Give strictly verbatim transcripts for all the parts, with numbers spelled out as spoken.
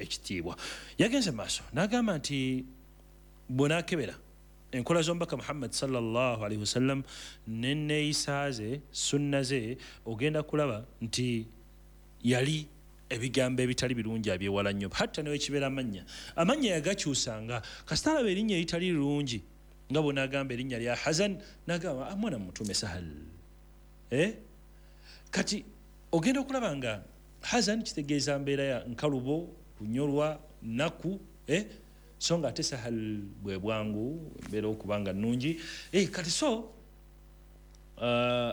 Ekitiibwa. Yagenze maaso n'agamba nti bw'onaakebera enkola z'omubaka Muhammad sallallahu alaihi wasallam n'enneeyisa ze, sunna ze, ogenda kulaba nti yali ebigambo ebitali birungi abyewala nnyo. Hatta newekibeera amannya, amannya yagakyusanga. Kasita alaba erinnya eritali lirungi, nga bw'onaagamba erinnya lya Hazan, n'agamba mwana mutume Sahal. Eh? Kati ogenda okulaba nga Hazan kitegeeza mbeera ya nkalubo, kunyolwa, nnaku, eh? So nga ate Sahal bwe bwangu, embeera okuba nga nnungi. Eh, kati so uh,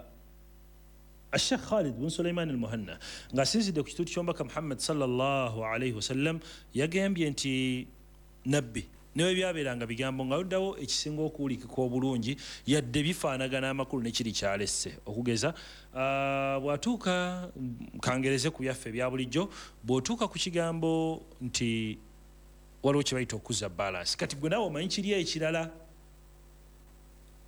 Sheikh Khalid bin Sulaiman al-Muhanna ng'asinzidde ku kituuti ky'omubaka Muhammad sallallahu alaihi wasallam yagambye nti nabbi newe byabeeranga bigambo nga luddawo ekisinga okuwulikika obulungi, yadde bifaanagana amakulu nekiri kyalesse. Okugeza uh, bw'atuuka, kangereze ku byaffe ebya bulijjo, bw'otuuka ku kigambo nti waliwo kye bayita okuzza balance. Kati gwe naawe omanyi kiri ekirala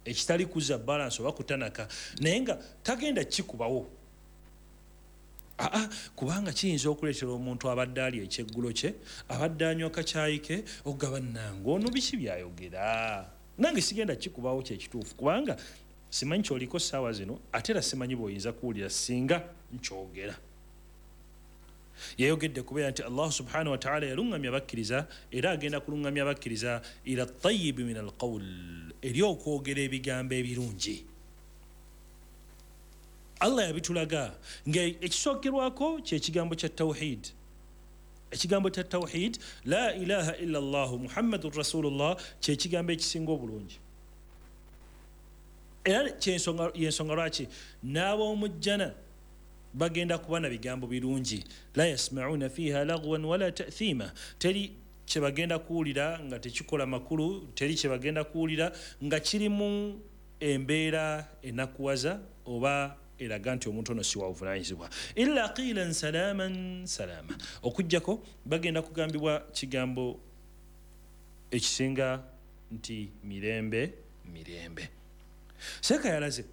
ekitali kuzza balance oba kutanaka, naye nga tagenda kikubawo. Aa, kubanga kiyinza okuleetera omuntu abadde ali ekyeggulo kye, abadde anywa kacaayi ke, okugaba nange ono biki byayogera, nange sigenda kikubawo kyekituufu, kubanga simanyi kyoliko ssaawa zino, ate era simanyi bw'oyinza kuwulira singa nkyogera. Yayogedde kubeera nti Allah subhanahu wa ta'ala yaluŋŋamya bakkiriza, era agenda kuluŋŋamya bakkiriza ila tayibi min alqawl, eri okwogera ebigambo ebirungi. Allah yabitulaga nga ekisookerwako kyekigambo kya tawhid. Ekigambo kya tawhid, la ilaha illa Allah Muhammadun rasulullah, kyekigambo ekisinga obulungi. Era yensonga lwaki n'ab'omujjana bagenda kuba na bigambo birungi. La yasma'una fiha lagwan wala ta'thima, teri kye bagenda kuwulira nga tekikola makulu, teri kye bagenda kuwulira nga kirimu embeera enakuwaza oba eraga nti omuntu ono si wa buvunaanyizibwa. Illa qilan salaman salama, okuggyako bagenda kugambibwa kigambo ekisinga nti mirembe mirembe. Seeka yalaze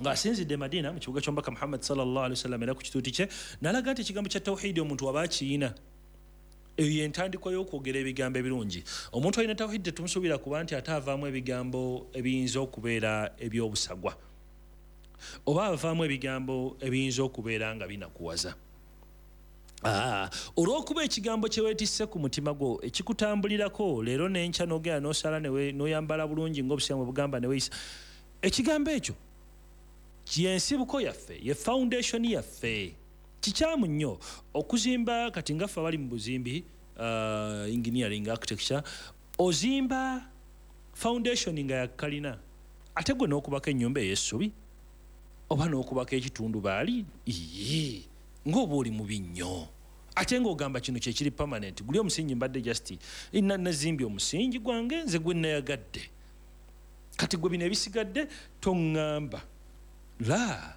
ng'asinzidde Madina mu kibuga ky'omubaka Muhammad sallallahu alaihi wasallam era ku kituuti kye, n'alaga nti ekigambo kya tawhidi omuntu waba akiyina, eyo y'entandikwa y'okwogera ebigambo ebirungi. Omuntu alina tawhidi tetumusuubira kuba nti ate avaamu ebigambo ebiyinza okubeera eby'obusagwa, oba avaamu ebigambo ebiyinza okubeera nga binakuwaza. Ah, olw'okuba ekigambo kye weetisse ku mutima gwo ekikutambulirako leero n'enkya n'ogenda n'osala n'oyambala bulungi ng'obusiraamu bwe bugamba ne weeyisa, ekigambo ekyo yensibuko yaffe, ye foundation yaffe. Kikyamu nnyo okuzimba kati nga ffe abali mu buzimbi, uh, engineering, architecture, ozimba foundation nga yakalina, ate gwe n'okubako ennyumba ey'essubi oba n'okubako ekitundu baali ng'oba oli mubi nnyo, ate ng'ogamba kino kyekiri permanent. Guli omusingi mbadde just nazimbye omusingi gwange nze gwe nayagadde, kati gwe bino ebisigadde toŋŋamba. La,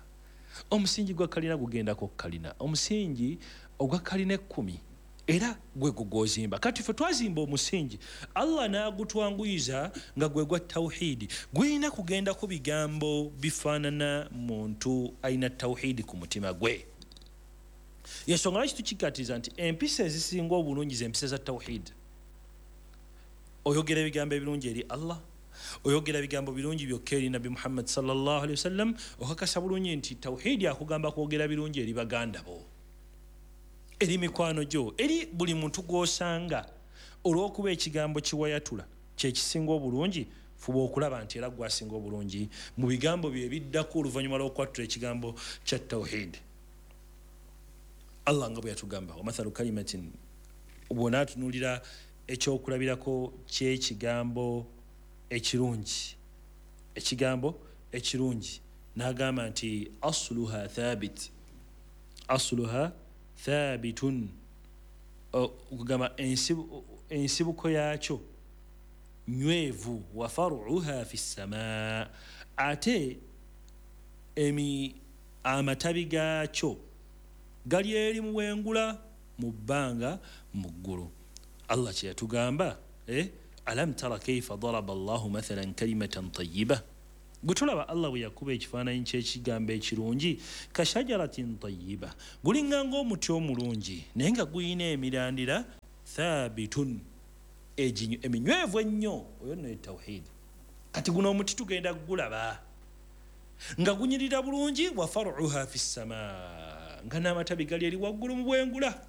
omusingi gwa kalina gugendako kalina, omusingi ogwa kalina ekkumi era gwe gw'ozimba. Kati ffe twazimba omusingi Allah n'agutwanguyiza nga gwe gwa tawhidi, gulina kugendako bigambo bifaanana muntu alina tawhidi ku mutima gwe. Yensonga lwaki tukikkaatiriza nti empisa ezisinga obulungi z'empisa za tawhidi. Oyogera ebigambo ebirungi eri Allah, oyogera bigambo birungi byokka eri Nabbi Muhammad sallallahu alaihi wasallam, okakasa bulungi nti tawhidi akugamba kwogera birungi eri baganda bo, eri mikwano gyo, eri buli muntu gw'osanga. Olw'okuba ekigambo kiwayatula kyekisinga obulungi, fuba okulaba nti era gwasinga obulungi mu bigambo bye ebiddako oluvannyuma lw'okwatula ekigambo kya tawhidi. Allah nga bwe yatugamba, wamathalu kalimatin, bw'onaatunuulira ekyokulabirako ky'ekigambo ekirungi, ekigambo ekirungi, n'agamba nti asluha thabit, asluha thabitun, okugamba ensibuko yaakyo nywevu, wa faruha fi ssamaa, ate emi amatabi gaakyo gali eri mu bwengula mu bbanga mu ggulu. Allah kye yatugamba, eh? Alam tara kaifa daraba Allahu mathalan kalimatan tayyiba, gwe tulaba Allah bwe yakuba ekifaananyi ky'ekigambo ekirungi, kashajaratin tayyiba, gulinga ng'omuti omulungi naye nga guyina emirandira Thabitun, eminywevu ennyo. Oyo nno ye tawhidi. Kati guno omuti tugenda kugulaba nga gunyirira bulungi, wa faruha fi ssama, nga n'amatabi gali eri waggulu mu bwengula.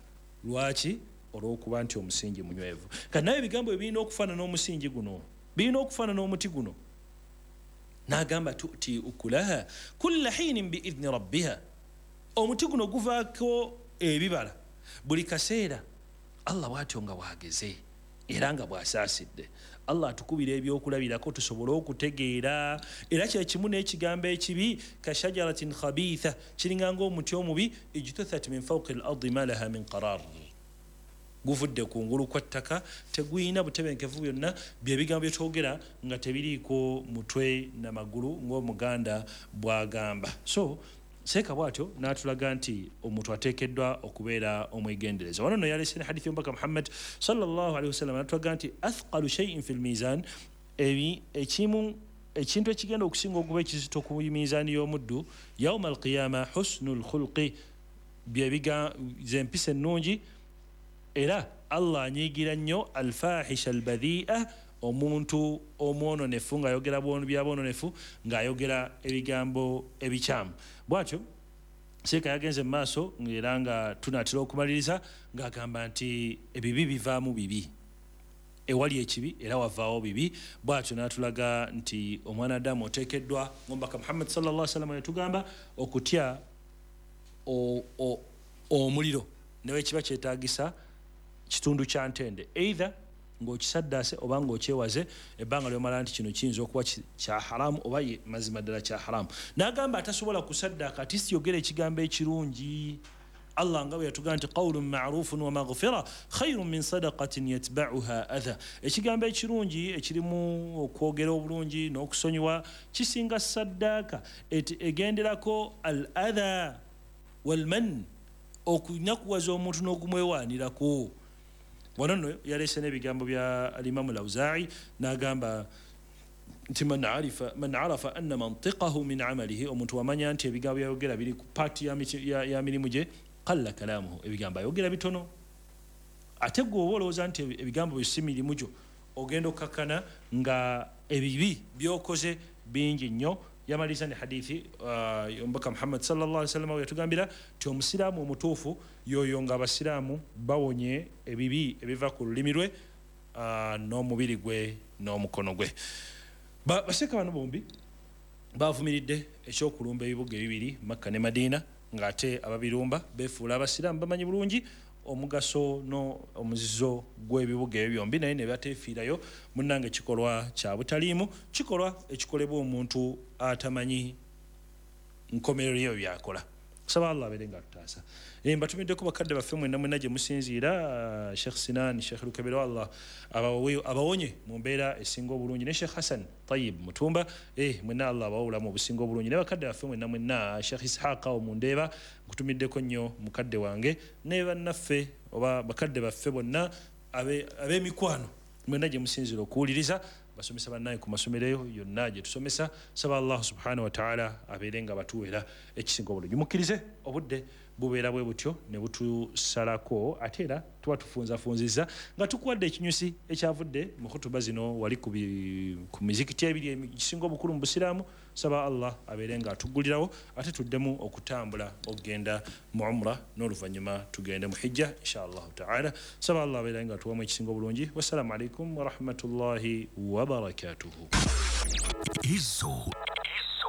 Lwaki? Olw'okuba nti omusingi munywevu. Kati naye ebigambo ebirina okufaanana omusingi guno, birina okufaanana omuti guno. N'agamba tuti ukulaha kulla hiinin biidhni rabbiha, omuti guno guvaako ebibala buli kaseera Allah bw'atyo nga bw'ageze era nga bw'asaasidde. Allah atukubira ebyokulabirako tusobole okutegeera. Era kyekimu n'ekigambo ekibi, kashajaratin khabitha, kiringa ng'omuti omubi, ijtuthat min fawqi al-ardi ma laha min qarar, guvudde ku ngulu kwa ttaka, teguyina butebenkevu byonna. Byebigambo byetwogera nga tebiriiko mutwe na magulu ng'omuganda bw'agamba. So seeka bw'atyo n'atulaga nti omuntu ateekeddwa okubeera omwegendereza. Wano nno yaleese ne hadithi y'omubaka Muhammad sallallahu alaihi wasallam, n'atulaga nti athqalu shay'in fil mizan, ekimu ekintu ekigenda okusinga okuba ekizito ku mizaani y'omuddu yauma alqiyama husnul khulqi, byebiga z'empisa ennungi. Era Allah anyiigira nnyo alfahisha albadhi'a, omuntu omwononefu ng'ayogera byabwononefu, ng'ayogera ebigambo ebikyamu. Bw'atyo seeka yagenze mu maaso era nga tunaatera okumaliriza ng'agamba nti ebibi bivaamu bibi, ewali ekibi era wavaawo bibi. Bw'atyo n'atulaga nti omwana Adamu oteekeddwa, ng'omubaka Muhammad sallallahu alaihi wasallam yatugamba, okutya omuliro newe kiba kyetaagisa kitundu kya ntende, either ng'okisaddaase oba ng'okyewaze ebbanga ly'omala nti kino kiyinza okuba kya haramu oba ye mazima ddala kya haramu. N'agamba atasobola kusaddaaka ati siyogera ekigambo ekirungi. Allah nga bwe yatugamba nti qawlun ma'rufun wa maghfira khayrun min sadaqatin yatba'uha adha, ekigambo ekirungi ekirimu okwogera obulungi n'okusonyiwa kisinga saddaaka egenderako al adha wal man, okunakuwaza omuntu n'okumwewaanirako. Wano nno yaleese n'ebigambo bya alimamu Lawzaa'i n'agamba nti man arifa man arafa anna mantiqahu min amalihi, omuntu wamanya nti ebigambo byayogera biri ku paati ya, ya, ya mirimu gye, qalla kalaamuhu, ebigambo ayogera bitono. Ate gwe oba olowooza nti ebigambo byo si mirimu gyo, ogenda okkakkana nga ebibi by'okoze bingi nnyo. Yamaliriza ne hadithi omubaka Muhammad sallallahu alaihi wasallam yatugambira nti omusiraamu omutuufu yoyo nga abasiraamu bawonye ebibi ebiva ku lulimi lwe uh, n'omubiri gwe n'omukono gwe. Baseeka bano bombi bavumiridde ekyokulumba ebibuga ebibiri Makka ne Madiina, ng'ate ababirumba beefuula abasiraamu bamanyi bulungi omugaso n'omuzizo gw'ebibuga ebyo byombi, naye ne bateefiirayo. Munnange kikolwa kya butaliimu, kikolwa ekikolebwa omuntu atamanyi nkomerero yeyo byakola. Kusaba Allah abeere nga atutaasa. Mbatumiddeko bakadde baffe mwenna mwenna gye musinziira, Sheikh Sinan, Sheikh Lukebero, Allah abawonye mu mbeera esinga obulungi, ne Sheikh Hassan Tayyib Mutumba, eh mwenna Allah abawe obulamu obusinga obulungi, ne bakadde baffe mwenna mwenna, Sheikh Ishaqa Omundeeba, nkutumiddeko nnyo mukadde wange, ne bannaffe oba bakadde baffe bonna ab'emikwano mwenna gye musinziira okuwuliriza. Basomesa bannaye ku masomero eyo yonna gye tusomesa. Saba Allah subhanahu wa ta'ala abeere nga batuweera ekisinga obulungi. Mukkirize obudde bubeera bwe butyo ne butusalako, ate era tuba tufunzafunzizza nga tukuwadde ekinyusi ekyavudde mu khutuba zino wali ku mizikiti ebiri ekisinga obukulu mu busiraamu. Saba Allah abeere nga atuggulirawo ate tuddemu okutambula okugenda mu umra n'oluvannyuma tugende mu hijja insha Allahu ta'ala. Saba Allah abeere nga atuwamu ekisinga obulungi. Wassalamu alaikum warahmatullahi wabarakatuhu. Ezo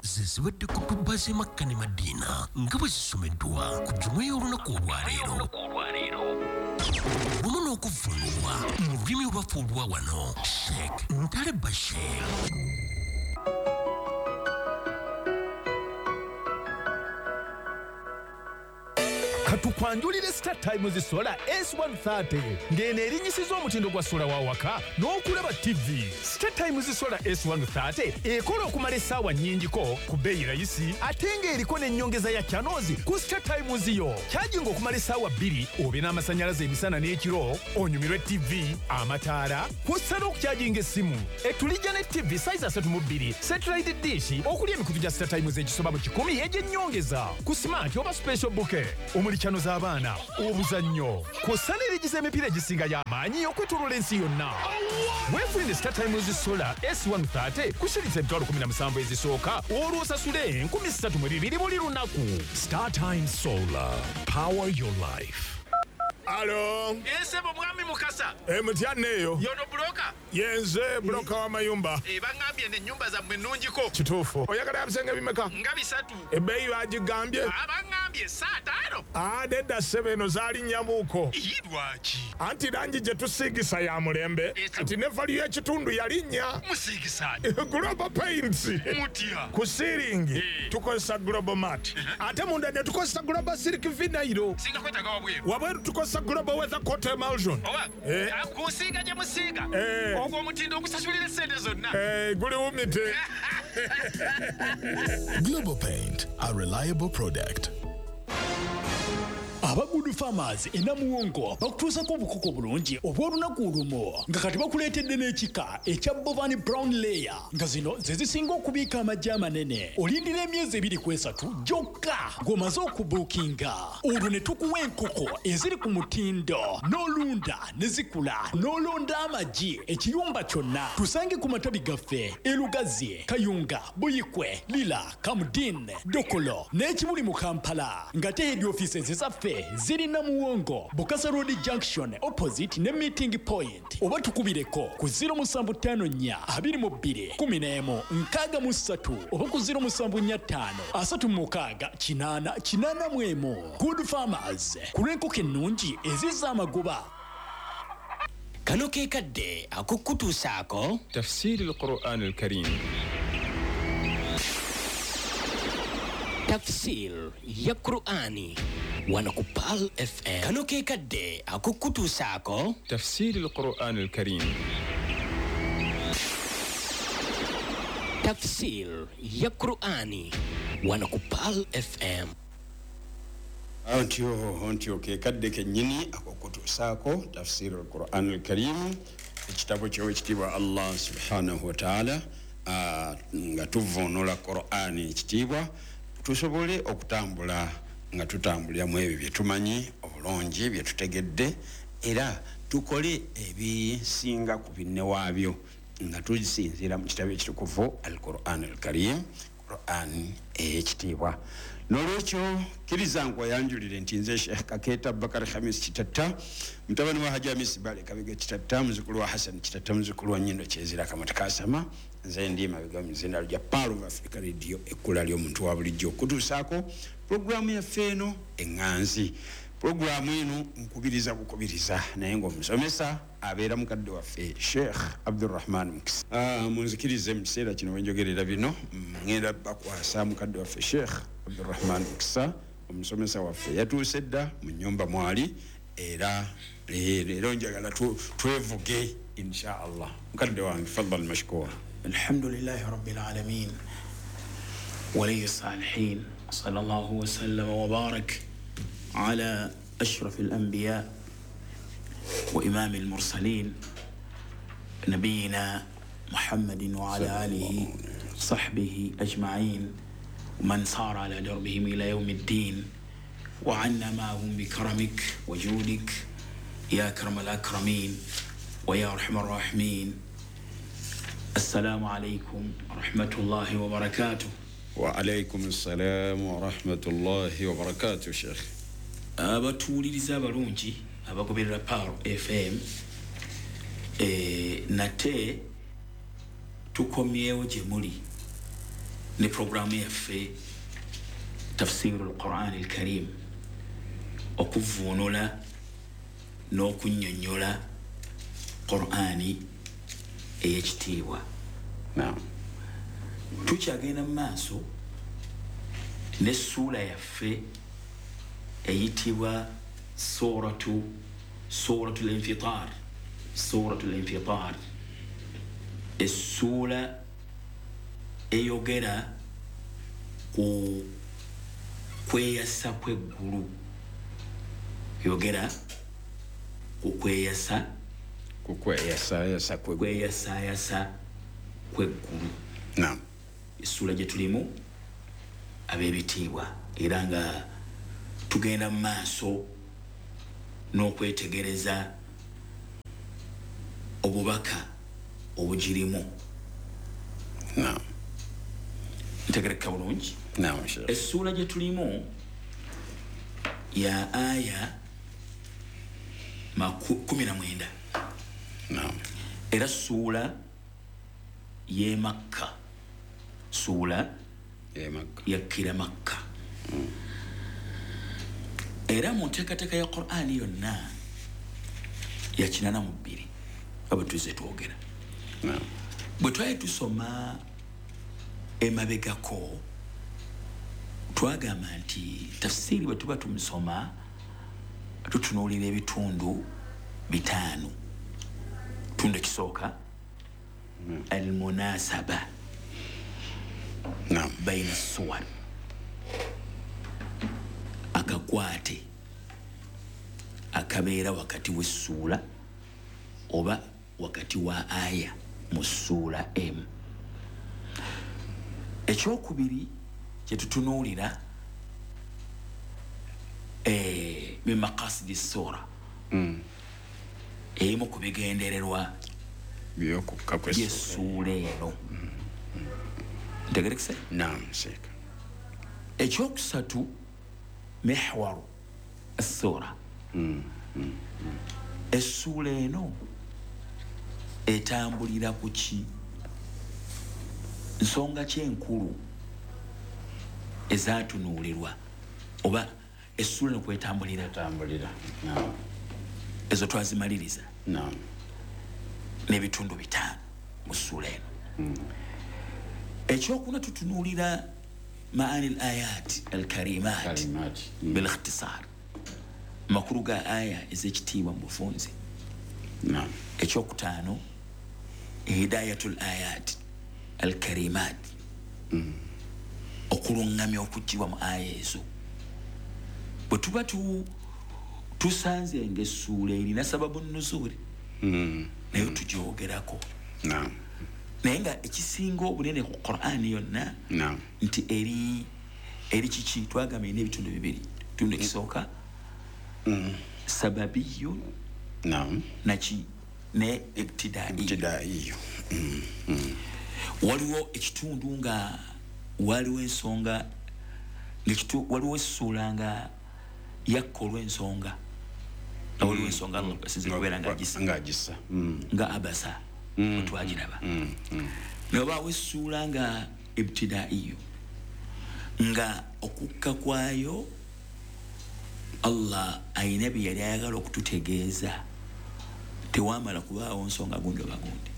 zezibadde ku kutuba z'e Makka ne Madiina nga bwe zisomeddwa ku jjuma y'olunaku olwaleero wamu n'okuvvuunulwa mu lulimi olwaffe olwa wano Sheikh Ntale Bashir. Tukwanjulire Star Times Solar S one thirty ng'eno erinnyisiza omutindo gwa sola wa waka n'okulaba T V. Star Times Solar S one thirty ekola okumala essaawa nnyingiko ku bbeeyi rayisi ate ng'eriko n'ennyongeza ya channels ku Star Times yo. Kyajinga okumala essaawa bbiri obe n'amasannyalaze emisana n'ekiro, onyumirwe T V, amataala, kw'ossa n'okukyajinga essimu. Etulijja ne T V size asatu mu bbiri, satellite dish okuli emikutu gya Star Times egisoba mu kikumi egy'ennyongeza ku smart oba special bouquet omuli channel Channel z'abaana, obuzannyo, kw'ossa ne liigi z'emipiira egisinga y'amaanyi okwetooloola ensi yonna. Weefunire Star Times Solar S one thirty ku shilingi emitwalo kumi na musanvu ezisooka, olwo osasule enkumi ssatu mu bibiri buli lunaku. Star Times Solar, power your life. Alo. Ese mwami Mukasa. Eh, mutya neyo. Yono broker. Yenze broker wa mayumba. Eh, bangambye ne nyumba za mwe nnungiko. Kituufu. Oyagala ebisenge bimeka? Nga bisatu. Ebbeeyi bagigambye. Ah, bangambye saa ttaano. Ah, nedda ssebo eno zaali nnyamuuko. Ii, lwaki? Anti langi gye tusiigisa ya mulembe. Kati ne value y'ekitundu yalinnya. Musiigisa. Global Paints. Mutya. Ku ceiling tukozesa Global Mat. Ate munda ne tukozesa Global Silk Vinyl. Singa kwetaaga wabweru. Wabweru tukozesa Global Weather Coat Emulsion. Oba, eh. Kusiiga gye musiiga. Eh. Ogwo omutindo ogusasulira essente zonna. Eh, guli wumite. Global Paint, a reliable product. Aba Good Farmers e Namuwongo bakutuusako obukoko bulungi obw'olunaku olumu nga kati bakuleetedde n'ekika ekya Bovani Brown Layer nga zino ze zisinga okubiika amagi amanene. Olindira emyezi ebiri ku esatu gyokka ng'omaze okubuukinga, olwo ne tukuwa enkoko eziri ku mutindo n'olunda ne zikula n'olonda amagi ekiyumba kyonna. Tusange ku matabi gaffe e Lugazi, Kayunga, Buyikwe, Lira, Kamudin, Dokolo n'ekibuli mu Kampala, nga te head offices zaffe ziri Namuwongo, Bukasa Road Junction opposite ne meeting point, oba tukubireko ku zero musanvu ttaano nnya abiri mu bbiri kumi n'emu nkaaga mu ssatu oba ku zero musanvu nnya ttaano asatu mu mukaaga kinaana kinaana mu emu. Good Farmers, ku lw'enkoko ennungi ezizza amagoba. Kano ke kadde ak'okutuusaako tafsiri al-Qur'an al-Karim. Tafsir ya Qur'ani wano ku Pearl F M. Kano ke kadde ak'okutuusaako tafsiri al-Qur'an al-Karim. Tafsir ya Qur'ani wano ku Pearl F M. Antyo antyo ke kadde kennyini ak'okutuusaako tafsiri al-Qur'an al-Karim, ekitabo ky'owekitiibwa Allah subhanahu wa ta'ala, nga tuvvuunula Qur'ani ekitiibwa tusobole okutambula nga tutambulira mu ebyo bye tumanyi obulungi bye tutegedde, era tukole ebisinga ku binne waabyo nga tusinziira mu kitabo ekitukuvu Al-Qur'an Al-Karim, Qur'an ey'ekitiibwa. N'olwekyo kkiriza nkweyanjulire nti nze Sheikh Kakeeta Bakari Hamis Kitatta, mutabani wa Haji Hamisi Bale Kabega Kitatta, muzzukulu wa Hassan Kitatta, muzzukulu wa Nnyindo Kyezira Kamata Kasama. Nze ndi mabega mu zinda lya Pearl of Africa Radio, ekkula ly'omuntu wa bulijjo okutuusaako pulogulaamu yaffe eno eŋŋanzi. Pulogulaamu eno nkubiriza bukubiriza, naye ng'omusomesa abeera mukadde waffe Sheikh Abdurrahman Mukisa. Ah, munzikirize mu kiseera kino wenjogerera bino, ngenda bakwasa mukadde waffe Sheikh Abdurrahman Mukisa, omusomesa waffe yatuuse dda mu nnyumba mwali, era leero njagala twevuge insha Allah. Mukadde wange faddal mashkura. الحمد لله رب العالمين ولي الصالحين، صلى الله وسلم وبارك على أشرف الأنبياء وإمام المرسلين نبينا محمد وعلى آله صحبه أجمعين ومن صار على دربهم إلى يوم الدين، وعنا معهم بكرمك وجودك يا أكرم الأكرمين ويا أرحم الراحمين. السلام عليكم ورحمة الله وبركاته. وعليكم السلام ورحمة الله وبركاته. شيخ abatuwuliriza abalungi abagoberera Pearl F M, eh, nate tukomyewo gye muli ne programu yaffe tafsiru al-Qur'an al-Karim, okuvvuunula n'okunnyonnyola Qur'ani ey'ekitiibwa. Naam. Tukyagenda mu maaso n'essuula yaffe eyitibwa suratu suratul Infitar, suratul Infitar, essuula eyogera ku kweyasa kw'eggulu, yogera ku kweyasa ku kweyasayasa kweyasayasa kw'eggulu. Naam. Essuula gye tulimu ab'ebitiibwa, era nga Tugenda mu maaso n'okwetegereza obubaka obugirimu. Naam. Ntegereka bulungi? Naam, Sheikh. Essuula gye tulimu ya aya kumi na mwenda. Naam. Era ssuula y'e Makka. Ssuula y'e Makka. Yakkira Makka. Mm. Era mu nteekateeka ya Qur'ani yonna ya kinaana mu bbiri nga bwe tuzze twogera. Naam. Bwe twali tusoma emabegako twagamba nti tafsiri bwe tuba tumusoma tutunuulira ebitundu bitaano. Kitundu ekisooka almunasaba baina suwar, akakwate akabeera wakati w'essuula oba wakati wa aya mu ssuula emu. Ekyokubiri kye tutunuulira eh, min maqasidi ssuura, mm. erimu ku bigendererwa by'okukka by'essuula eno. Ntegerekese? Naam, Sheikh. Ekyokusatu mihwaru essuura. Mm. Mm. Essuula eno etambulira ku ki? Nsonga ki enkulu ezaatunuulirwa oba essuula eno kwetambulira? Etambulira. Naam. Ezo twazimaliriza. Naam. N'ebitundu bitaano mu ssuula eno. Mm. Ekyokuna tutunuulira maani al-ayat al-karimat Karimat. Mm. bil-ikhtisar, makulu ga aya ez'ekitiibwa mu bufunze. Naam. Ekyokutaano hidayatul ayat al-karimat, mm. okulungamya okuggyibwa mu aya ezo. Bwe tuba tu tusanze ng'essuula erina sababu nnuzuuli, mm. naye tugyogerako. Naam. Naye nga ekisinga obunene ku Qur'ani yonna Naam. nti eri eri kiki? Twagamba erina ebitundu bibiri. Ekitundu ekisooka mm. sababiyun, Naam. naki ne ibtidaiyu. Ibtidaiyu. Mm. Mm. Waliwo ekitundu nga waliwo ensonga ng'ekitu waliwo essuula nga yakka olw'ensonga nga waliwo ensonga Allah asinze kubeera ng'agisa ng'agisa mm. nga abasa mm. twagiraba. Mm. Mm. Ne wabaawo essuula nga ibtidaiyu nga okukka kwayo Allah ayina bye yali ayagala okututegeeza, tewamala kubaawo nsonga gundi oba gundi,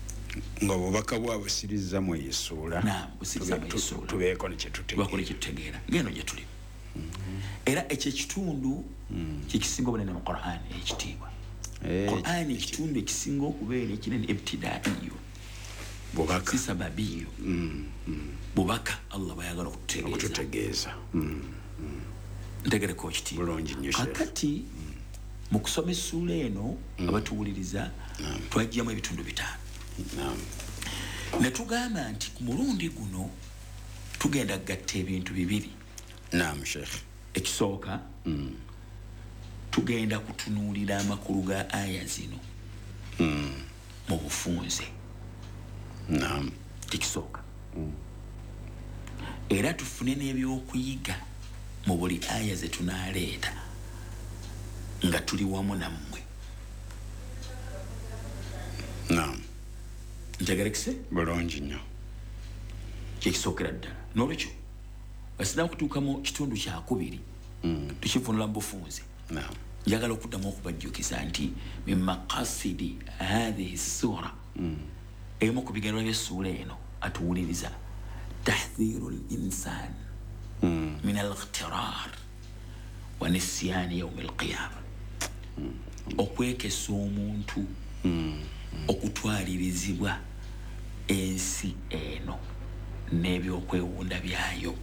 nga obubaka bwabusiriza mu essuula. Naam, busiriza mu essuula tubeeko ne kye tutegeera ng'eno gye tuli. Era ekyo ekitundu kye kisinga obunene mu Qur'an ekitiibwa. Qur'an ekitundu ekisinga okubeera ekinene ibtidaiyu, bubaka, si sababiyu. Bubaka Allah bw'ayagala okututegeeza. Ntegereko ekitiibwa bulungi nnyo. Kakati mu kusoma essuula eno abatuwuliriza twagyamu ebitundu bitaano. Naam. Ne tugamba nti ku mulundi guno tugenda kugatta ebintu bibiri. Naam, Sheikh. Ekisooka mm. tugenda kutunuulira amakulu ga aya zino mm. mu bufunze. Naam. Ekisooka mm. era tufune n'ebyokuyiga mu buli aya ze tunaaleeta nga tuli wamu nammwe. Naam. Ntegerekese? Bulungi nnyo. Kyekisookera ddala. N'olwekyo basina kutuuka mu kitundu kyakubiri mm. tukivunula mu bufunze. Naam. Njagala okuddamu okubajjukiza nti min maqasidi hathihi ssura, mm. emu ku bigendererwa by'essuula eno atuwuliriza tahdhiru l-insan mm. min al-ightirar wa nisyani yawmi al-qiyama, mm. okwekesa omuntu mm. okutwalirizibwa ensi eno n'ebyokwewunda byayo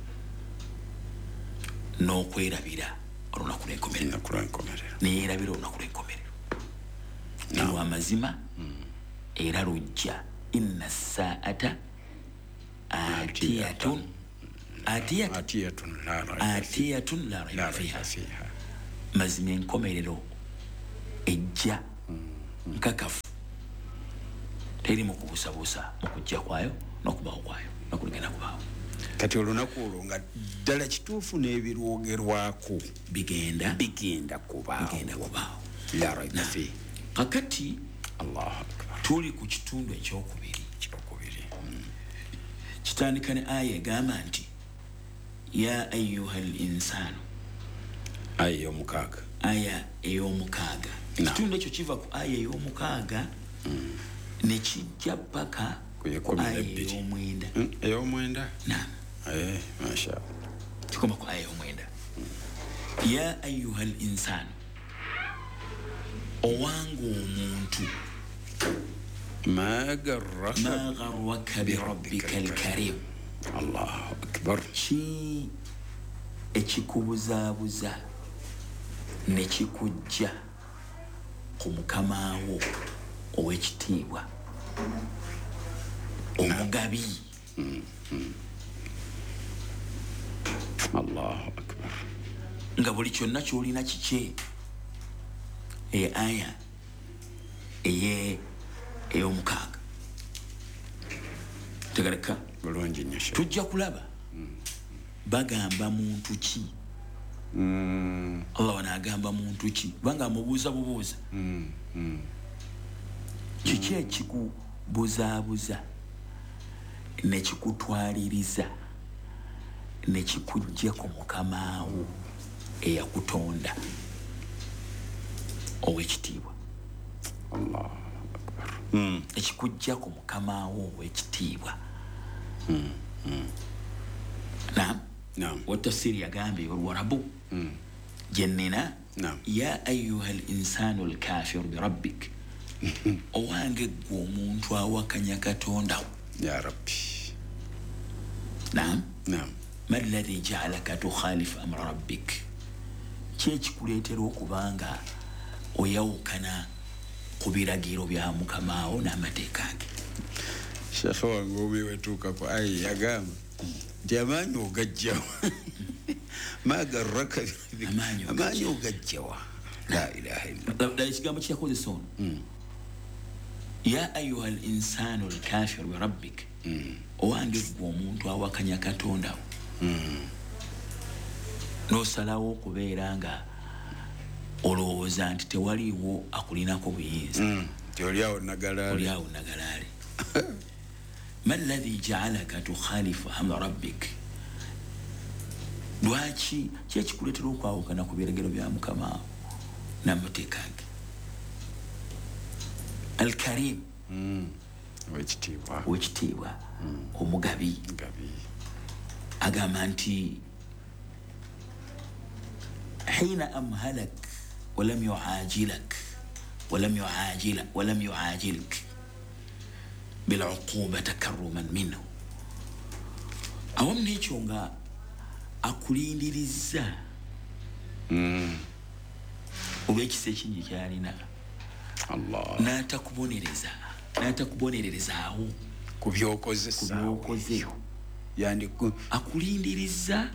n'okwerabira olunaku lw'enkomerero. Neyeerabira olunaku lw'enkomerero. Lwa mazima era lujja. Inna saata atiyatun atiyatun la rayba fiha. Mazima enkomerero ejja nkakafu, teri mu kubuusabuusa mu kujja kwayo n'okubaawo kwayo n'okuligenda kubaawo. Kati olunaku olwo nga ddala kituufu n'ebirwogerwako bigenda bigenda kubaawo, bigenda kubaawo. La raiba fi. Kakati Allahu akbar, tuli ku kitundu ekyokubiri. Ekyokubiri kitandika ne aya egamba nti ya ayuha al insanu, aya ey'omukaaga, aya ey'omukaaga. Ekitundu ekyo kiva ku aya ey'omukaaga ne kijja paka ku aya ey'omwenda. Ey'omwenda? Naam. Eh, masha Allah. Kikoma ku aya ey'omwenda. Ya ayuha al insanu, owange omuntu, ma garraka ma garraka bi rabbika al-karim. Allahu akbar. Ki ekikubuzaabuza ne kikujja ku mukama wo ow'ekitiibwa omugabi. Allahu akbar. Nga buli kyonna ky'olina kikye. E aya eye ey'omukaaga tegereka bulungi nnyo. Tujja kulaba bagamba muntu ki. Allah wanaagamba muntu ki, kubanga amubuuza bubuuza kiki ekikubuzaabuza ne kikutwaliriza ne kikujja ku mukama wo eyakutonda ow'ekitiibwa. Allahu akbar. Ekikujja ku mukama wo ow'ekitiibwa. Naam. Naam. Watafsiri yagambye olwarabu jennina ya ayuha al-insanu al-kafiru bi rabbik, owange ggwe omuntu awakanya Katonda wo. Ya Rabbi. Naam. Naam. Ma alladhi ja'alaka tukhalifu amra rabbik, ki ekikuleetera okubanga oyawukana ku biragiro bya mukama wo n'amateeka ge. Shekhe wange omi wetuuka ku aya yagamba nti amaanyi ogajjawa ma garraka amaanyi ogajjawa. La ilaha illallah. Ddala ekigambo kyeyakozesa ono ya ayuha al insanu al kafiru bi rabbik, owange ggwe omuntu awakanya Katonda wo n'osalawo okubeera nga olowooza nti tewaliiwo akulinako buyinza, nti oliawo nagalaale, oliawo nagalaale. Ma alladhi ja'alaka tukhalifu amra rabbik, lwaki ki ekikuleetera okwawukana ku biragiro bya mukama wo n'amateeka ge. Al-Karim, ow'ekitiibwa, ow'ekitiibwa omugabi, agamba nti hina amhalak walam yuajilak walam yuajila walam yuajilk bil'uquba takarruman minhu, awamu n'ekyo nga akulindiriza olw'ekisa ekingi ky'alina, n'atakubonereza n'atakubonererezaawo ku by'okoze, ku by'okoze. Akulindiriza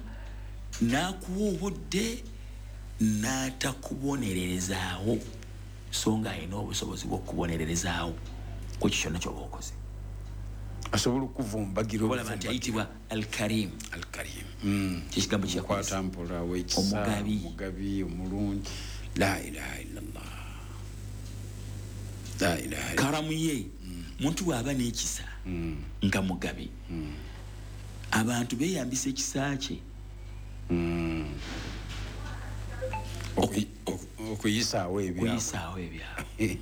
n'akuwa obudde n'atakubonererezaawo, so nga alina obusobozi bw'okubonererezaawo ku ekyo kyonna ky'oba okoze. Asobola okuvumbagira olaba nti ayitibwa Al-Karim. Al-Karim kyekigambo kyeyakozesa, mpola ow'ekisa, omugabi, omugabi omulungi. La ilaha illallah. La ilaha. Karamu ye muntu bw'aba n'ekisa nga mugabi, abantu beeyambisa ekisa kye okuyisaawo ebyabwe, okuyisaawo ebyabwe,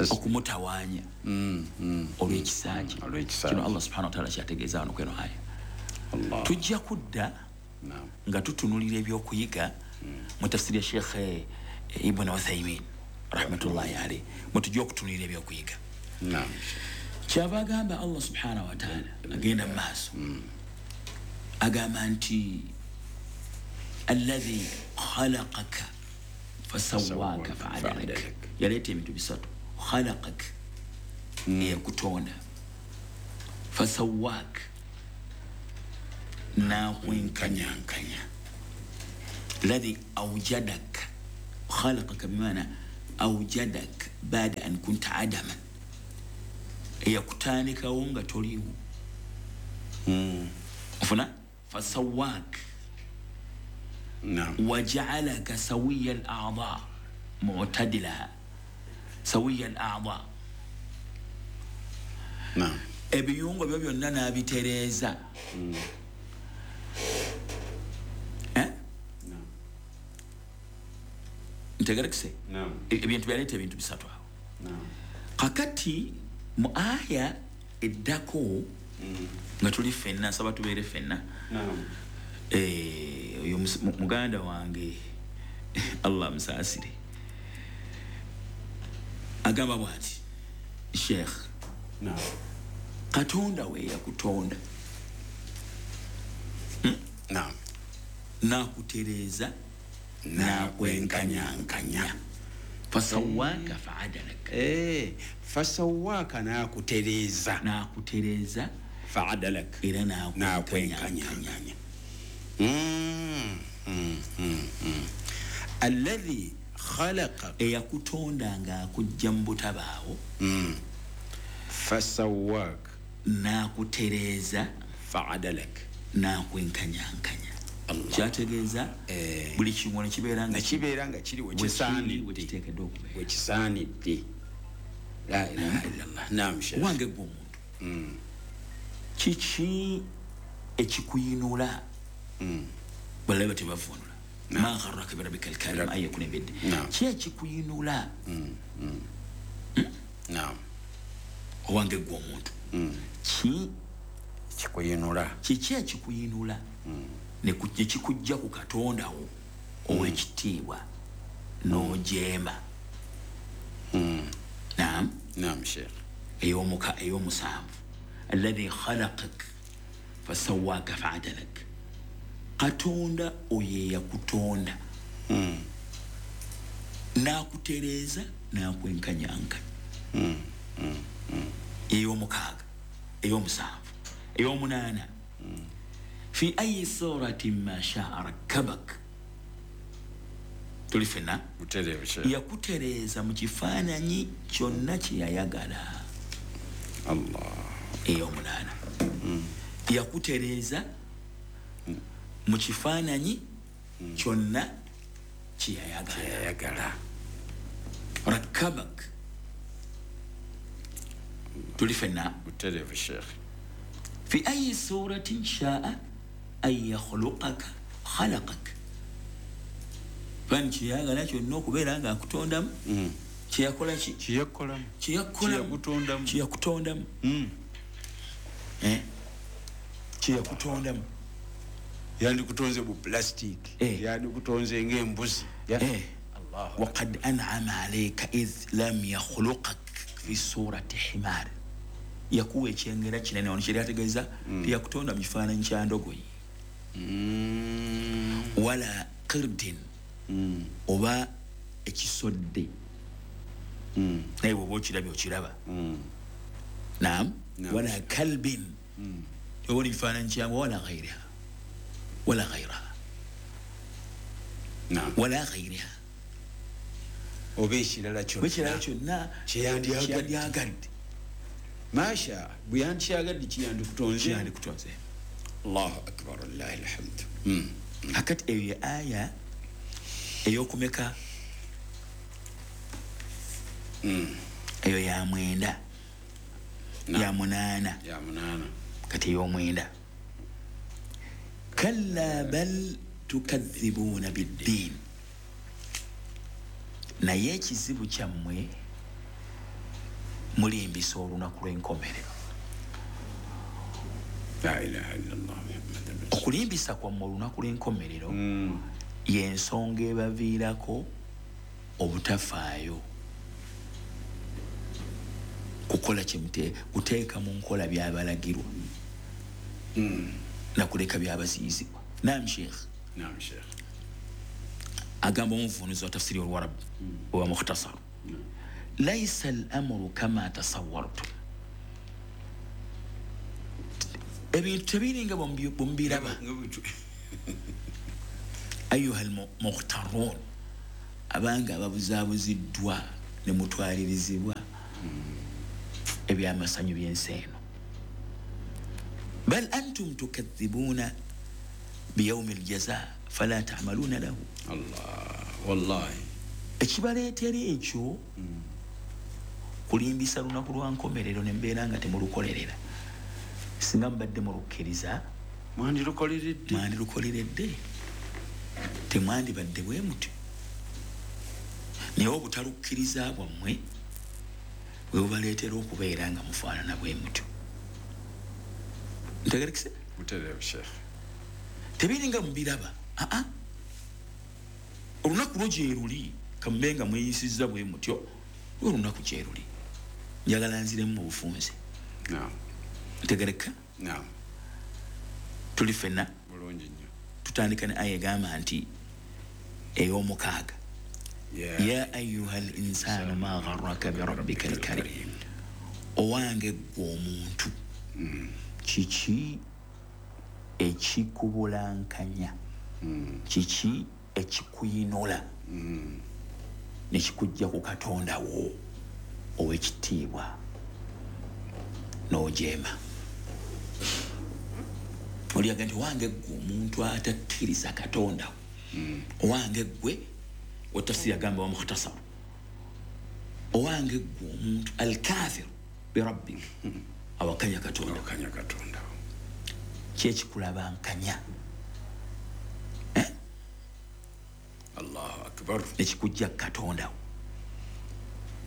okumutawaanya olw'ekisa kye. Kino Allah subhanahu wa ta'ala kyategeeza wano kweno aya. Tujja kudda nga tutunulira ebyokuyiga mu tafsiri ya Sheikh Ibn Uthaymin rahmatullahi alayhi, mutujja okutunulira ebyokuyiga. Naam. Kyava agamba Allah subhanahu wa ta'ala agenda mu maaso agamba nti alladhi khalaqaka fasawwaka fa'adalak. Yaleeta ebintu bisatu: khalaqak, eyakutonda, fasawwak, n'akwenkanyankanya, Alladhi awjadak, khalaqaka bimaana awjadak bada an kunta adaman, eyakutandikawo nga toliwo. Mm. Ofuna fasawak wajaalaka sawiya al-a'dha mu'tadilaha, sawiya al-a'dha. Naam. Ebiyungo byo byonna n'abitereeza. Mm. Eh? Naam. Ntegerekese? Naam. Ebintu byaleeta ebintu bisatu awo. Naam. Kakati mu aya eddako mm. nga tuli ffenna, nsaba tubeere ffenna. Naam. Eh, oyo muganda wange Allah musaasire, agamba bw'ati Sheikh. Naam. Katonda we yakutonda. Hmm? Naam. Nakutereeza, nakwenkanyankanya. Fasawaka fa'adalak. Eh, fasawaka nakutereeza. Nakutereeza fa'adalak. Era nakwenkanyankanya. Mm, mm, mm, mm. Alladhi khalaqa, eyakutonda nga akujja mu butabaawo. Mm. Fasawak nakutereeza fa'adalak nakwenkanyankanya. Kyategeeza eh, buli kimu ne kibeera nga kibeera nga kiri wekisaanidde, wekiteekeddwa okubeera wekisaanidde. La ilaha illallah. Naam Sheikh. Wange gwe omuntu, mm. kiki ekikuyinula? Mm. Balaba tebavunula ma gharraka birabbika alkarim aya kunebedde. Ki ekikuyinula? Mm. Mm. Naam. Owange gwe omuntu, mm. ki kikuyinula? Kiki ekikuyinula? Mm. Ne kikujja ku Katonda wo ow'ekitiibwa n'ojeema. Mm. Naam. Naam Sheikh. Ey'omuka ey'omusanvu, alladhi khalaqak fasawwaka fa'adalak. Katonda oyo yakutonda mm. n'akutereeza n'akwenkanyankanya. Mm. Mm. Mm. Ey'omukaaga, ey'omusanvu, ey'omunaana. Mm. Fi ayi suratin ma shaa rakkabak. Tuli ffenna? Yakutereeza mu kifaananyi kyonna kye yayagala. Allah. Ey'omunaana. Mm. Yakutereeza mm. mu kifaananyi mm. kyonna kye yayagala. Kyeyayagala. Rakkabak. Tuli ffenna? Butereevu Sheikh. Fi ayi suratin shaa an yakhluqaka khalaqak. Fani kyeyagala kyonna okubeera nga akutondamu, mm. kyeyakola ki? Kyeyakolamu. Kyeyakutondamu. Kyeyakutondamu. Mm. Eh? Kyeyakutondamu. Yandikutonze bu plastic. Eh. Yandikutonze ng'embuzi. Eh. Allah. Waqad an'ama alayka idh lam yakhluqak fi surati himar. Yakuwa ekyengera kinene ono kyeri ategeeza mm. teyakutonda mu kifaananyi kya ndogoyi. Mm. Wala qirdin. Mm. Oba ekisodde. Mm. Naye bw'oba okirabye okiraba. Mm. Naam. Naam. Wala kalbin. Mm. Oba ekifaananyi kyange wala ghairiha. Wala ghairaha. Naam. Wala ghairiha. Oba ekirala kyonna. Oba ekirala kyonna kyeyandyagadde. Masha bwe yandyagadde kiyandikutonze. Kiyandikutonze. Allahu akbar, lillahi alhamdu. Mm. Akati eyo ye aya ey'okumeka? Mm. Eyo ya mwenda. Ya munaana. Ya munaana. Kati ey'omwenda. Kalla bal tukadhibuuna biddiin. Naye ekizibu kyammwe mulimbisa olunaku lw'enkomerero. La ilaha illallah Muhammadur Rasulullah. Okulimbisa kwammwe olunaku lw'enkomerero mm. y'ensonga ebaviirako obutafaayo kukola kyemute kuteeka mu nkola byabalagirwa mm. nakuleka byabaziyizibwa. Naam Sheikh. Naam Sheikh. Agamba omuvunuzi wa tafsiri olwarabu mm. owa mukhtasar. Mm. Laisa al-amru kama tasawwartum. Ebintu tebiringa bwe mubiraba. Ayuha almukhtarun, abanga ababuzaabuziddwa ne mutwalirizibwa ebyamasanyu by'ensi eno. Bal antum tukadhibuna biyaumi aljaza fala ta'maluna lahu. Allah wallahi, ekibaleetera ekyo kulimbisa lunaku lwa nkomerero nembeera nga temulukolerera. Singa mubadde mulukkiriza mwandirukoleredde, mwandirukoleredde, temwandibadde bwe mutyo. Naye obutalukkiriza bwammwe bwe bubaleetera okubeera nga mufaanana bwe mutyo. Ntegerekise? Butereevu Sheikh. Tebiringa mubiraba. Aa, olunaku lwo gye luli, kamube nga mweyisizza bwe mutyo, olunaku gye luli. Njagala nziremu mu bufunze. Naam. Ntegereka? Naam. Tuli ffenna? Bulungi nnyo. Tutandika ne aya egamba nti ey'omukaaga. Ya ayuha al insanu ma gharraka bi rabbika al karim. Owange ggwe omuntu, kiki ekikubulankanya, kiki ekikuyinola nekikujja ku Katonda wo ow'ekitiibwa n'ojeema. Oliaga nti owange ggwe omuntu atakkiriza Katonda wo, owange ggwe watafsiri agamba wa mukhtasar, owange ggwe omuntu alkafiru birabbik, awakanya Katonda, awakanya Katonda, kyekikulabankanya eh? Allahu akbar, nekikujja Katonda wo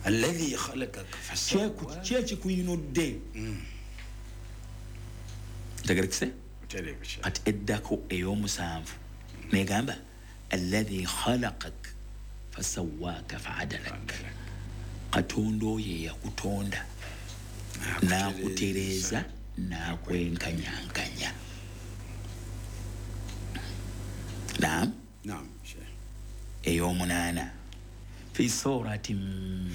alladhi khalaqaka fasawwaka, kyekikuyinudde. Ntegerekise? Kati eddako ey'omusanvu negamba alladhi khalaqak fasawwaka fa'adalak, Katonda oyo eyakutonda n'akutereeza n'akwenkanyankanya. Naam. Naam Sheikh. Ey'omunaana fi suratin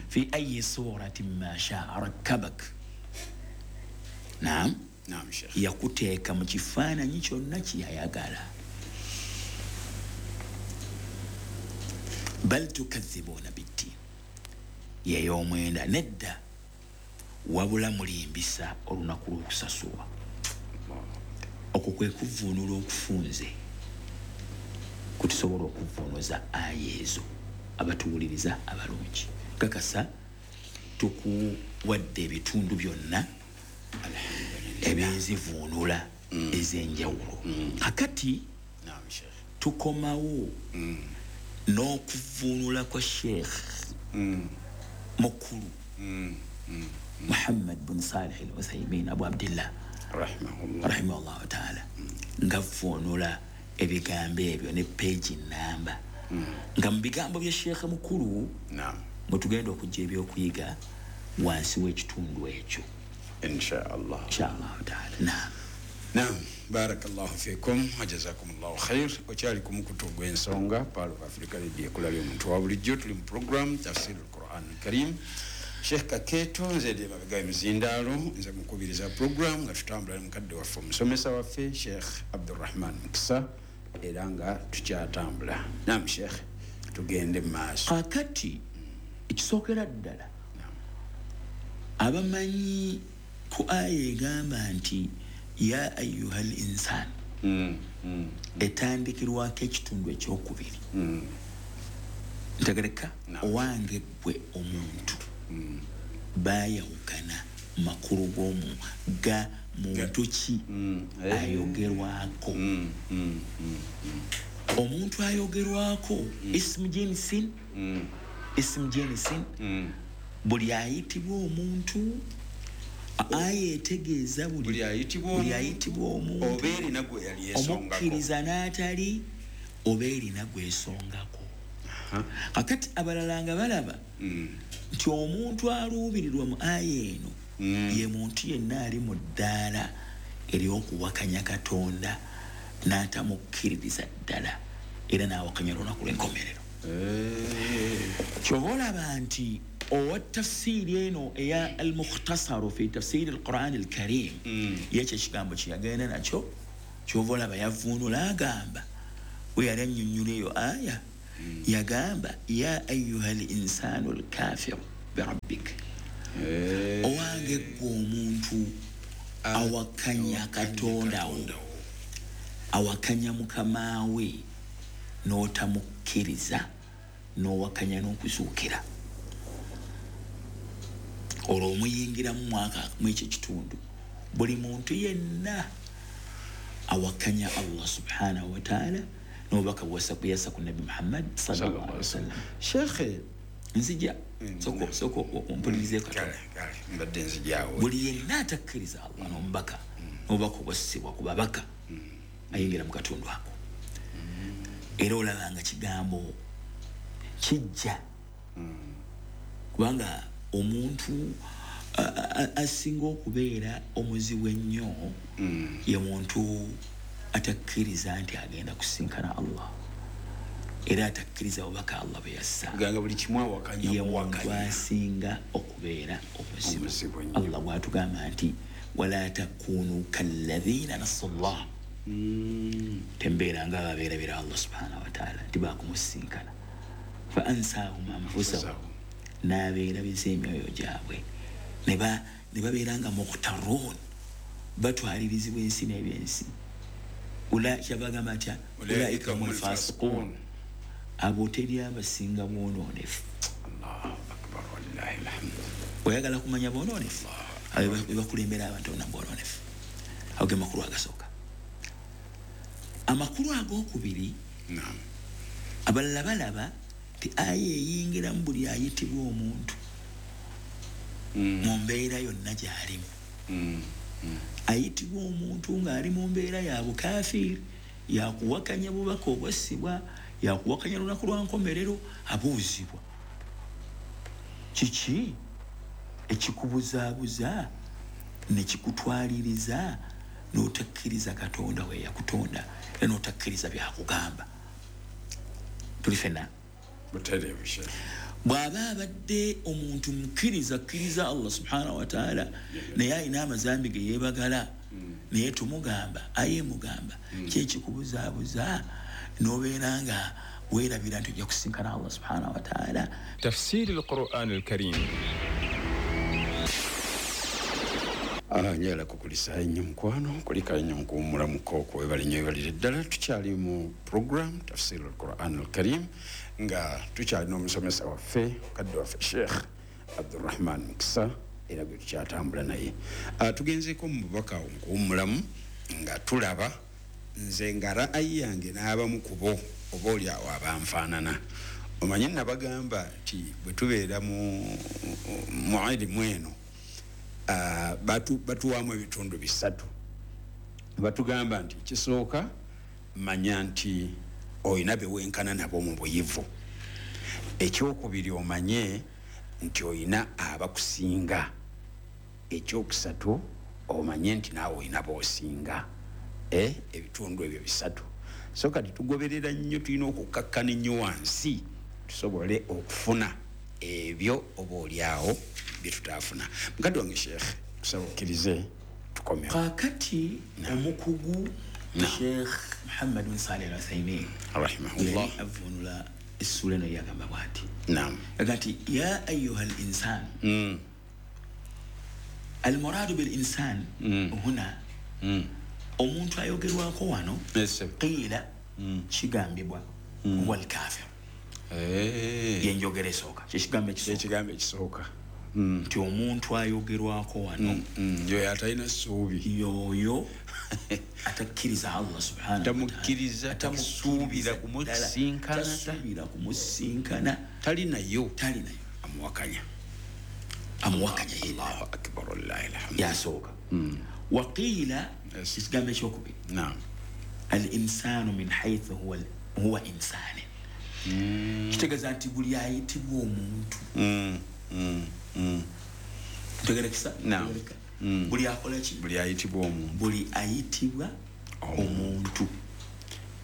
fi ayi suratin ma sha'a rakkabak. Naam. Naam Sheikh. Yakuteeka mu kifaananyi kyonna kyeyayagala. Bal tukadhibuna biddiin, yey'omwenda, nedda wabula mulimbisa olunaku lw'okusasulwa. Okwo kwe kuvvuunula okufunze kutusobola okuvvuunuza aya ezo abatuwuliriza abalungi. Kakasa tukuwadde ebitundu byonna ebyenzivuunula ez'enjawulo. Kakati tukomawo n'okuvuunula kwa Sheikh mukulu Muhammad bin Salih al-Uthaymin Abu Abdillah rahimahullah rahimahullah ta'ala, nga vuunula ebigambo ebyo ne page namba, nga mu bigambo bya Sheikh mukulu mwe tugenda okujja ebyokuyiga wansi w'ekitundu ekyo insha Allah. Insha Allah ta'ala. Naam. Naam, barakallahu fikum wa jazakumullahu khair. Okyali ku mukutu gw'ensonga Pearl of Africa Radio ekulabye omuntu wa bulijjo. Tuli mu program Tafsir al-Quran al-Karim. Sheikh Kakeeto nze ndi mabega emizindaalo, nze mukubiriza program nga tutambula ne mukadde waffe omusomesa waffe Sheikh Abdurrahman Mukisa, era nga tukyatambula. Naam Sheikh, tugende mu maaso. Kakati ekisookera ddala abamanyi ku aya egamba nti ya ayuha al insan etandikirwako ekitundu ekyokubiri. Ntegereka? Owange ggwe omuntu, bayawukana makulu g'omu ga muntu ki ayogerwako. Omuntu ayogerwako ismu jinsin, ismu jinsin, buli ayitibwa omuntu, aya etegeeza buli ayitibwa omuntu, oba erina gwe yali esongako, omukkiriza n'atali, oba erina gwesongako. Kakati abalala nga balaba nti omuntu aluubirirwa mu aya eno ye muntu yenna ali mu ddaala ery'okuwakanya Katonda n'atamukkiririza ddala, era n'awakanya olunaku lw'enkomerero. Ky'oba olaba nti owa tafsiiri eno eya al-mukhtasaru fi tafsiiri al-Quran al-Karim, yekyo ekigambo kye yagenda nakyo, ky'ova olaba yavuunula agamba We yali annyonnyola eyo aya, yagamba ya ayuha linsanu lkafiru birabbik, owange gwe omuntu awakanya Katonda wo, awakanya mukama we, n'otamukkiriza, n'owakanya n'okuzuukira. Olwo omuyingiramu mwaka mu ekyo kitundu buli muntu yenna awakanya Allah subhanahu wa ta'ala n'obubaka bweyassa ku Nabbi Muhammad sallallahu alaihi wasallam. Shekhe, nzija soko soko ompulirizeeko katono. Mbadde nzijaawo. Buli yenna atakkiriza Allah n'omubaka n'obubaka obwassibwa ku babaka ayingira mu katundu ako. Era olaba nga kigambo kijja, kubanga omuntu asinga okubeera omuzibu ennyo ye muntu atakkiriza nti agenda kusinkana Allah, era atakkiriza bubaka Allah bwe yassa. Ganga buli kimu awakanya ye muntu asinga okubeera omuzibu. Allah bw'atugamba nti wala takunu kalladhina nasallah, tembeera nga ababeerabira Allah subhanahu wa ta'ala nti bakumusinkana. Fa ansahum anfusahum, n'abeerabiza emyoyo gyabwe ne babeera nga mukhtarun, batwalirizibwa ensi n'ebyensi. Kyabagamba atya ulaika humul fasiqun, abo teri abasinga bwonoonefu. Oyagala kumanya bwonoonefu, abo bebakulembera abantu bonna bwonoonefu. Ago ge makulu agasooka. Amakulu ag'okubiri, abalala balaba nti aya eyingiramu buli ayitibwa omuntu mu mbeera yonna gy'alimu. Ayitibwa omuntu ng'ali mu mbeera ya bukafiiri, yakuwakanya bubaka obwassibwa, yakuwakanya lunaku lwa nkomerero, abuuzibwa kiki ekikubuzaabuza ne kikutwaliriza n'otakkiriza Katonda we yakutonda era n'otakkiriza byakugamba. Tuli ffenna bw'aba abadde omuntu mukkiriza akkiriza Allah subhanahu wa ta'ala, naye alina amazambi ge yeebagala, naye tumugamba aye mugamba kyekikubuzaabuza n'obeera nga weerabira nti ojja kusinkana Allah subhanahu wa ta'ala. Tafsiri al-Quran al-Karim. Njagala kukulisa ennyo mukwano, kulika ennyo mukuwummulamuko okwebala ennyo weebalire ddala. Tukyali mu program Tafsir al-Quran al-Karim nga tukyalina omusomesa waffe mukadde waffe Sheikh Abdurrahman Mukisa, era gwe tukyatambula naye. Tugenzeeko mu bubaka mukuwummulamu nga tulaba nze nga ra'ayi yange n'abamu ku bo oba oli awo abanfaanana. Omanye nabagamba nti bwe tubeera mu ilimu eno batuwaamu ebitundu bisatu. Batugamba nti ekisooka manya nti olina be wenkana nabo mu buyivu. Ekyokubiri omanye nti olina abakusinga. Ekyokusatu omanye nti naawe olina b'osinga. Eh, ebitundu ebyo bisatu. So kati tugoberera nnyo, tulina okukakkana ennyo wansi tusobole okufuna ebyo oba oli awo bye tutaafuna. Mukadde wange Sheikh, kusaba okkirize tukomewo. Kaakati omukugu Sheikh Muhammad bin Saleh Al-Uthaymin rahimahullah avvuunula essuula eno yagamba bw'ati. Naam. Yaga nti ya ayuha al-insan. Al-muradu bil-insan huna, omuntu ayogerwako wano qiila kigambibwa huwa al-kafir. Yenjogera esooka, kyekigambo ekisooka ekisooka nti omuntu ayogerwako wano yoyo atalina ssuubi, yoyo atakkiriza Allah subhanahu wa ta'ala, tamukkiriza, tamusuubira kumusinkana, tasuubira kumusinkana, tali nayo, tali nayo, amuwakanya, amuwakanya. Allahu akbar, wallahi alhamdu. Yasooka. Waqiila, ekigambo ekyokubiri, naam, al-insanu min haythu huwa huwa insani, kitegeeza nti buli ayitibwa omuntu. Ntegerekesa? Buli akola ki? Buli ayitibwa omuntu. Buli ayitibwa omuntu.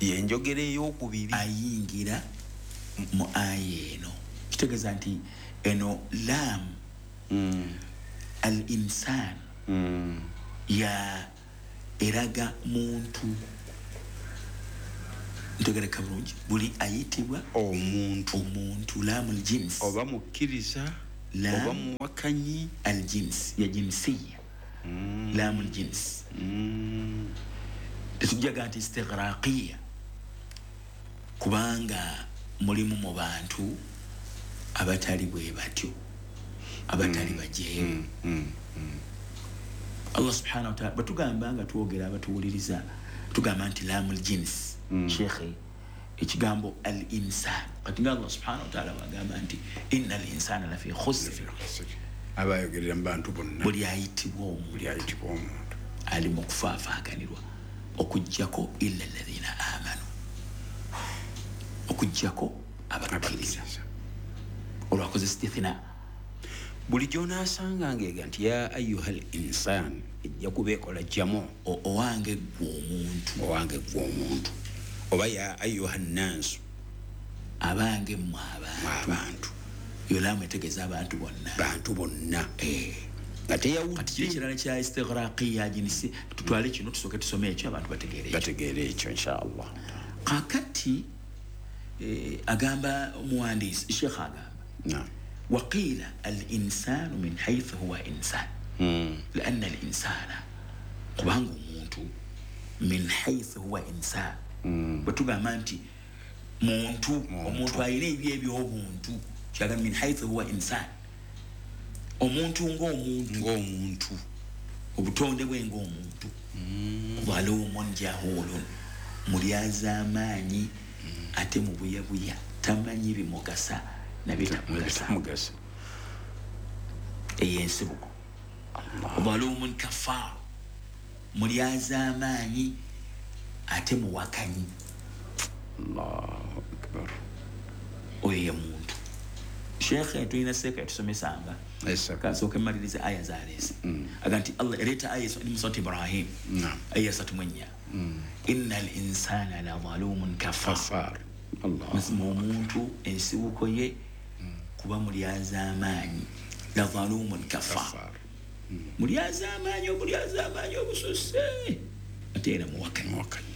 Yenjogera ey'okubiri ayingira mu aya eno. Kitegeeza nti eno lam al-insan ya eraga muntu. Ntegereka bulungi, buli ayitibwa omuntu, omuntu lamu aljins, oba mukkiriza oba muwakanyi, aljins ya jinsiya, mm. lamu aljins mm. Tetujjaga nti istighraqiya, kubanga mulimu mu bantu abatali bwe batyo, abatali mm. bajeemu. mm. mm. mm. Allah subhanahu wa ta'ala batugamba nga twogera abatuwuliriza, tugamba nti lamu aljins. mm. Shekhe, ekigambo al insan, kati nga Allah subhanahu wa ta'ala bagamba nti inna al insana lafi khusr, abayogerera mu bantu bonna, buli ayitibwa omuntu, buli ayitibwa omuntu ali mu kufaafaaganirwa, okuggyako illa alladhina amanu, okuggyako abakkiriza. Olwakoze istithna, buli gy'onaasanga ng'ega nti ya ayuha al insan, ejja kuba ekola jjamu owange ggwe omuntu, owange ggwe omuntu, oba ya ayuha nnansu, abange mmwe abantu. Yolamu etegeeza abantu bonna, bantu bonna. Eh, nga teyawudde. Kati kiri ekirala kya istighraqiya jinsi, tutwale kino tusooke tusome ekyo abantu bategeere ekyo, bategeere ekyo inshallah. Kakati eh, agamba omuwandiisi Sheikh agamba naam, وقيل الإنسان من حيث هو إنسان، mm. لأن الإنسان kubanga omuntu min حيث هو إنسان، mm. bwetugamba nti muntu, omuntu alina ebyo eby'obuntu, kyaga min حيث هو إنسان, omuntu ng'omuntu, ng'omuntu, obutonde bwe ng'omuntu, zalumun jahulun, mulyazaamaanyi, ate mubuyabuya, tamanyi bimugasa nabitamugasa. Eyo ensibuko. Zalumun kafar, mulyazaamaanyi ate muwakanyi. Allahu akbar. Oyo ye muntu. Shekhe tulina seeka yatusomesanga, kasooke mmalirize aya zaleese, aga nti Allah ereeta aya eri mu surati Ibrahim, aya asatu mu ennya, inna al insana la zalumun kafar. Mazima omuntu ensibuko ye kuba mulyazaamaanyi, la zalumun kafar, mulyazaamaanyi, omulyazaamaanyi obususse, ate era muwakanyi.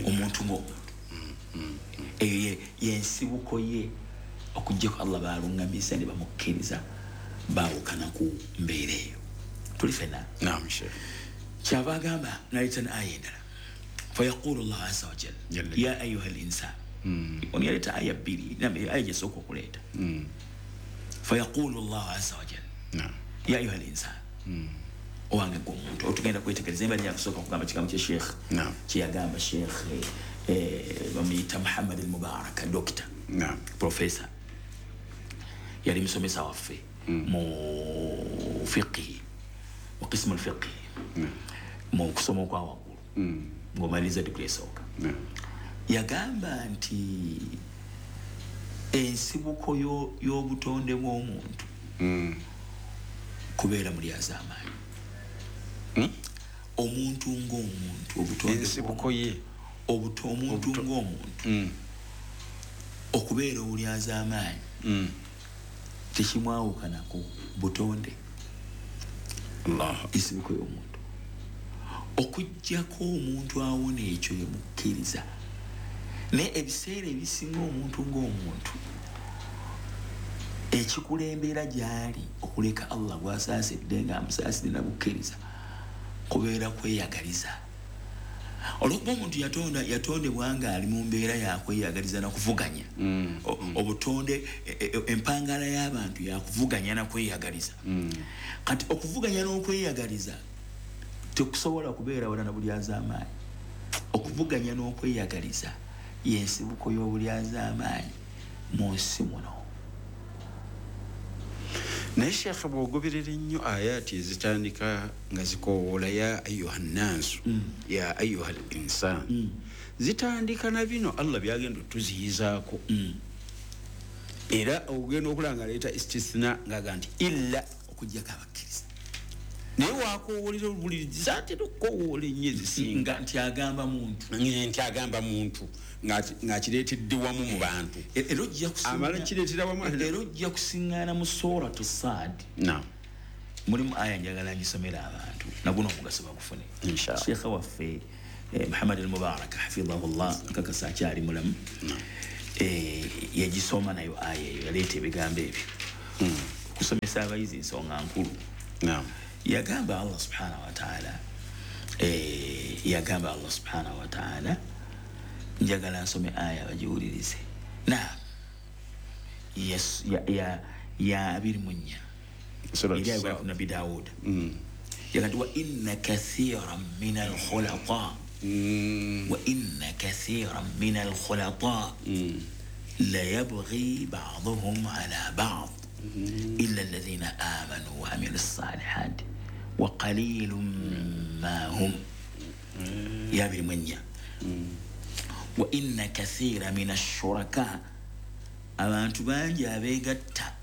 Omuntu ng'omuntu, eyo yensibuko ye, okuggyako Allah baaluŋŋamisa ne bamukkiriza, baawukana ku mbeera eyo. Tuli ffenna? Naam Sheikh. Kyava agamba n'aleeta ne aya endala, fayaqulu Allahu azza wa jalla ya ayuha al insan. Ono yaleeta aya bbiri, aya gyesooka okuleeta. Fayaqulu Allahu azza wa jalla ya ayuha al insan, owange ggwe omuntu. Otugenda kwetegereza embali yakusooka okugamba kigambo kya Sheikh kyeyagamba Sheikh bamuyita Muhammad al Mubaraka, dokita, professor, yali musomesa waffe mu fiqhi, mu qismu al-fiqhi, mu kusoma okwa waggulu, ng'omaliriza diguli esooka. Yagamba nti ensibuko y'obutonde bw'omuntu kubeera mulyazaamaanyi. Omuntu ng'omuntu, obutonde ensibuko ye, omuntu ng'omuntu okubeera obulyazaamaanyi tekimwawukanako butonde, ensibuko y'omuntu. Okuggyako omuntu awona ekyo yemukkiriza. Naye ebiseera ebisinga omuntu ng'omuntu ekikulembera gy'ali okuleka Allah gw'asaasidde nga amusaasidde nabukkiriza kubeera kweyagaliza. Olwokuba omuntu yatonda yatondebwa nga ali mu mbeera yakweyagaliza nakuvuganya, obutonde empangala y'abantu yakuvuganya nakweyagaliza. Kati okuvuganya n'okweyagaliza tekusobola kubeera wala na bulyazaamaanyi. Okuvuganya n'okweyagaliza yensibuko y'obulyazaamaanyi mu nsi muno. Naye Sheikh bw'ogoberera ennyo ayati ezitandika nga zikoowoola ya ayuha nnansu, ya ayuha al insan, zitandika na bino Allah byagenda otuziyizaako. Era ogenda okulaba nga aleeta istisna ng'aga nti illa, okuggyako abakkiriza. Naye wakoowolera buli zaatera okukoowoola ennyo ezisinga nti agamba muntu, nti agamba muntu ng'akireetedde wamu mu bantu, amala kireetera wamu, era ojja kusiŋŋaana mu suratu Saad. Naam, mulimu aya njagala ngisomera abantu naguno omugaso bagufune. Sheikh waffe eh, Muhammad al-Mubarak hafidhahullah nkakasa akyali mulamu eh, yagisoma nayo aya eyo yaleeta ebigambo ebyo okusomesa abayizi ensonga nkulu. Yagamba Allah subhanahu wa ta'ala eh, yagamba Allah subhanahu wa ta'ala njagala nsome aya bagiwulirize. Naam, yes, ya ya ya abiri mu nnya eri ku Nabi Dawud yagamba wa inna kathiran min al-khulata wa inna kathiran min al-khulata la yabghi ba'dhum ala ba'd illa alladhina amanu wa amilu s-salihat wa qalilun ma hum. Ya abiri mu nnya. Wa inna kathira min ash-shuraka, abantu bangi abeegatta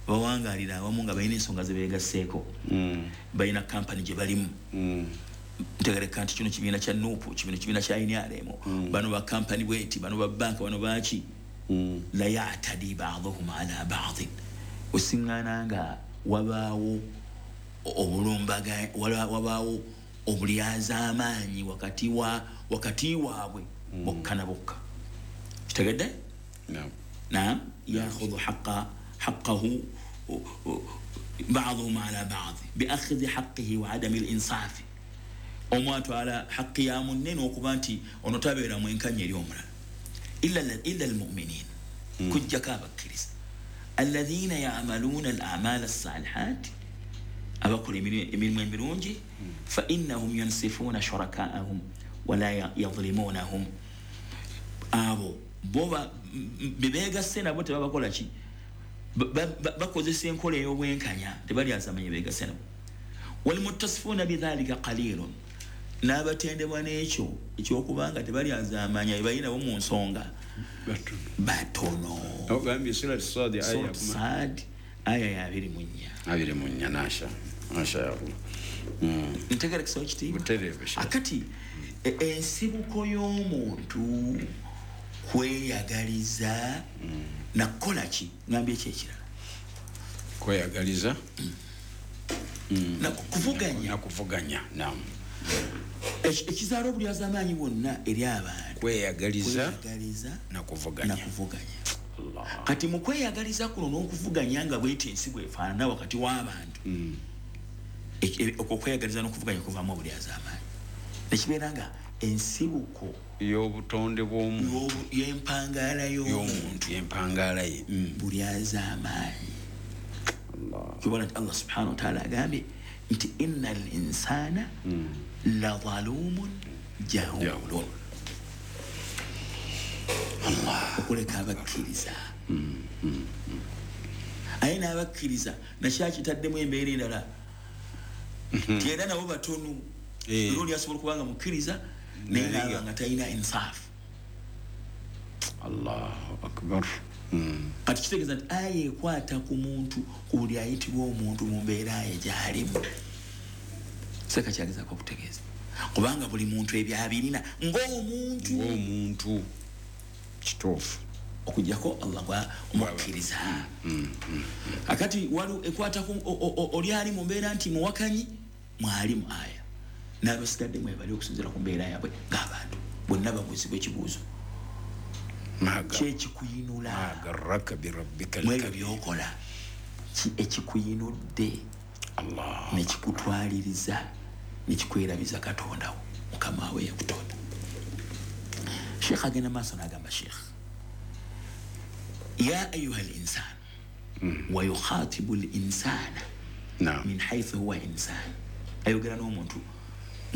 bawangalira awamu nga balina ensonga ze beegasseeko, balina kampani gye balimu, ntegereka nti kino kibiina kya Nuupu, kino kibiina kya N R M, bano ba kampani bweti, bano ba banka, bano baki. La ya'tadi ba'dhuhum ala ba'd, osiŋŋaana nga wabaawo obulumbaga, wabaawo obulyazaamaanyi wakati wa wakati waabwe bokka na bokka. Kitegedde? Naam, ya'khudhu haqqa حقه بعضهم على بعض بأخذ حقه وعدم الإنصاف. Omuntu ala haqi ya munne n'okuba nti ono tabeera mwenkanya eri omulala. Illa illa almu'minin, kujjako abakkiriza, alladhina ya'maluna al-a'mal as-salihat, abakola emirimu emirungi, fa innahum yansifuna shuraka'ahum wala yadhlimunahum. Abo bo bebegasse nabo tebabakola ki, bakozesa enkola ey'obwenkanya, tebalyazaamanya beegasse nabo. Walmuttasifuna bidhalika qalilun, n'abatendebwa n'ekyo ekyokubanga tebalyazaamanya bebalina bo mu nsonga batono. Ogambye Surat Sad aya Sad aya ya abiri mu nnya. Abiri mu nnya, nasha masha Allah. Ntegerekesa ekitiibwa akati ensibuko y'omuntu kweyagaliza nakukola ki, ngambye ki ekirala? Kweyagaliza nakuvuganya, nakuvuganya. Naam, ekizaala obulyazaamaanyi bwonna eri abantu kweyagaliza nakuvuganya, nakuvuganya. Kati mu kweyagaliza kuno n'okuvuganya nga bweti ensi bwefaanana wakati w'abantu, okwo okweyagaliza n'okuvuganya kuvaamu obulyazaamaanyi, nekibeera nga ensibuko y'obutonde bw'omuntu, y'empangaala y'omuntu, y'empangaala ye bulyazaamaanyi. Kibona nti Allah subhanahu wa ta'ala agambye nti inna al-insana la zalumun jahulun, okuleka abakkiriza. Aye n'abakkiriza nakyakitaddemu embeera endala nti era nabo batono, era oli asobola okuba nga mukkiriza naye naaba nga talina insaafu. Allahu akbar. Kati kitegeeza nti aya ekwata ku muntu, ku buli ayitibwa omuntu mu mbeera ye gy'alimu. Seka kyagezaako okutegeeza kubanga buli muntu ebyo abirina ng'omuntu, ng'omuntu kituufu, okuggyako Allah gwa omukkiriza. Akati waliwo ekwata ku oli ali mu mbeera nti muwakanyi, mwali mu aya, n'abasigadde mwebali okusinziira ku mbeera yaabwe ng'abantu bonna babuuzibwa ekibuuzo kyekikuyinula mwebyo byokola, ki ekikuyinudde nekikutwaliriza nekikwerabiza Katonda wo Mukama we yakutonda. Sheikh agenda maaso n'agamba Sheikh, ya ayuha al-insan wa yukhatibu al-insana min haythu huwa insan, ayogera n'omuntu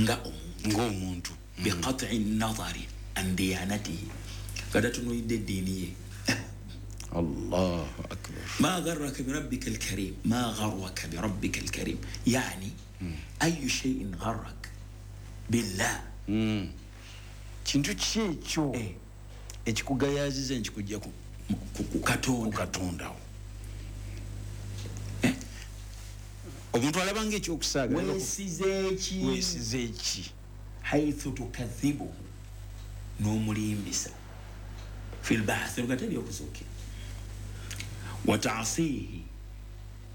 nga omuntu, ng'omuntu, biqat'i nadhari an diyanatihi, kadatunuidde eddiini ye. Allahu akbar. Ma gharraka birabbika alkarim, ma gharraka birabbika alkarim, yani ayu shay'in gharrak billah, kintu ki ekyo ekikugayaziza nkikujja ku Katonda. Omuntu alabanga ekyokusaaga, weesize ki, weesize ki, haythu tukadhibuhu, n'omulimbisa fi lbathi, lukateri okuzuukira, wa ta'sihi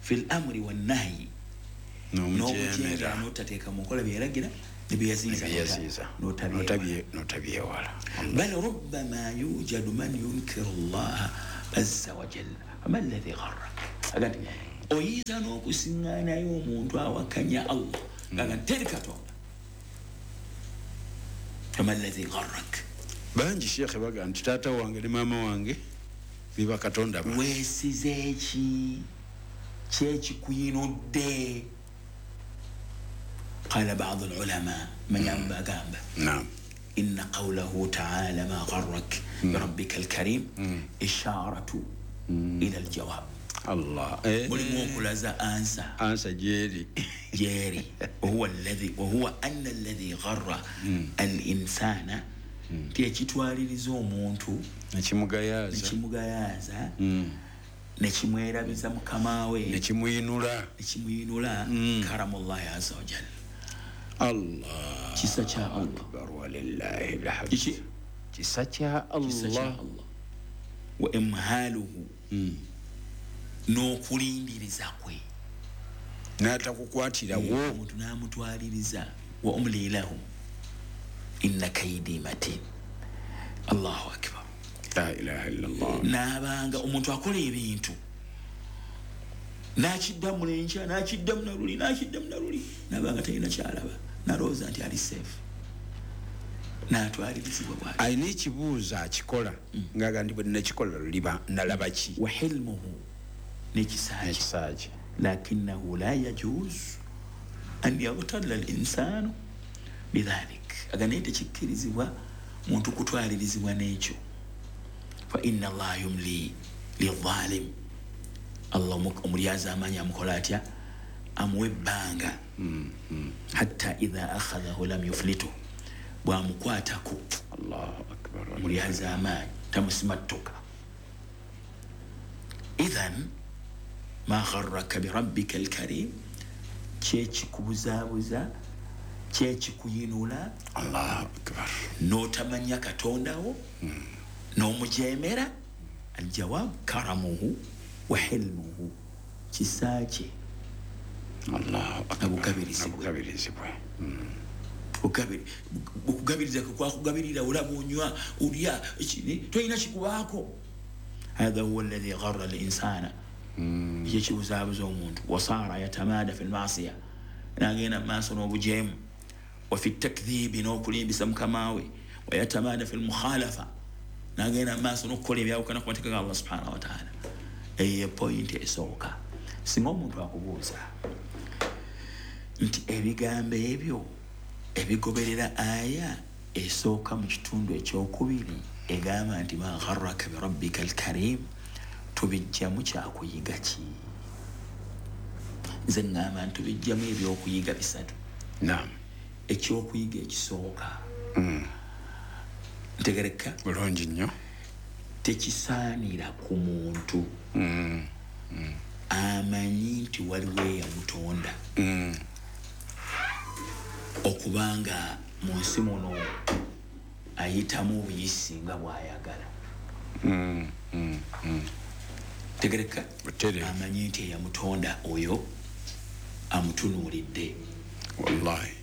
fi lamri wannahyi, n'omujeemera n'otateeka mu nkola byeragira Nebyeyaziiza notabyewala. Bal rubbama yujadu man yunkiru llaha azza wa jalla fama alladhi gharrak. Agati oyinza n'okusiŋŋaanayo omuntu awakanya Allah nga teri Katonda. Fama alladhi gharrak. Bangi shekhe baga nti taata wange ne maama wange biba Katonda. Weesize ki kyekikuyinudde? قال بعض العلماء من ينبغى نعم إن قوله تعالى ما غرك بربك الكريم إشارة إلى الجواب. الله mulimu ansa ansa jeri jeri وهو الذي وهو أن الذي غر الإنسان tekitwaliriza omuntu nekimugayaza nekimugayaza nekimwerabiza mukama we nekimuyinula nekimuyinula karamullahi azza wa jalla. Allah kisa kya Allah akbar walillahi alhamd. Kisa kya Allah wa imhaluhu n'okulindiriza kwe n'atakukwatirawo omuntu n'amutwaliriza wa umli lahum inna kaydi matin. Allahu akbar la ilaha illa Allah. N'abanga omuntu akola ebintu n'akiddamu n'enkya n'akiddamu naluli n'akiddamu naluli n'abanga talina kyalaba n'alowooza nti ali safe n'atwalirizibwa bw'atyo. Alina ekibuuzo akikola ng'aga nti bwe nakikola luliba nalaba ki? Wa hilmuhu n'ekisa kye lakinahu la yajuzu an yaghtalla al-insanu bidhalik. Aga naye tekikkirizibwa muntu kutwalirizibwa n'ekyo. Fa inna Allaha yumli lidhalim. Allah omulyaza amaanyi amukola atya? Amuwa ebbanga hatta idha akhadhahu lam yuflitu, bw'amukwatako Allahu akbar omulyaza amaanyi tamusimattuka. Idhan ma gharraka birabbika alkarim, kyekikubuzaabuza kyekikuyinula Allahu akbar n'otamanya Katondawo n'omujeemera. Aljawab karamuhu wa hilmuhu, kisa kye Allahu akbar abugabirizibwe okugabiriza kwe kwakugabirira olaba onywa olya tolina kikubaako. Hatha huwa alladhi gharra al-insana, ekikibuzaabuza omuntu. Wasaara yatamada fi lmasiya, n'agenda mu maaso n'obujeemu. Wa fi takdhibi, n'okulimbisa mukama we. Wayatamada fi lmukhalafa, n'agenda mu maaso n'okukola ebyawukana ku mateeka ga Allah subhanahu wa taala. Eyo pointi esooka. Singa omuntu akubuuza nti ebigambo ebyo ebigoberera aya esooka mu kitundu ekyokubiri egamba nti ma gharraka birabbika alkarim, tubijjamu kyakuyiga ki? Nze ŋŋamba nti tubijjamu ebyokuyiga bisatu. Naam. Ekyokuyiga ekisooka ntegereka bulungi nnyo, tekisaanira ku muntu amanyi nti waliwo eyamutonda okubanga mu nsi muno ayitamu obuyisi nga bw'ayagala. Tegereka amanyi nti eyamutonda oyo amutunuulidde. Wallahi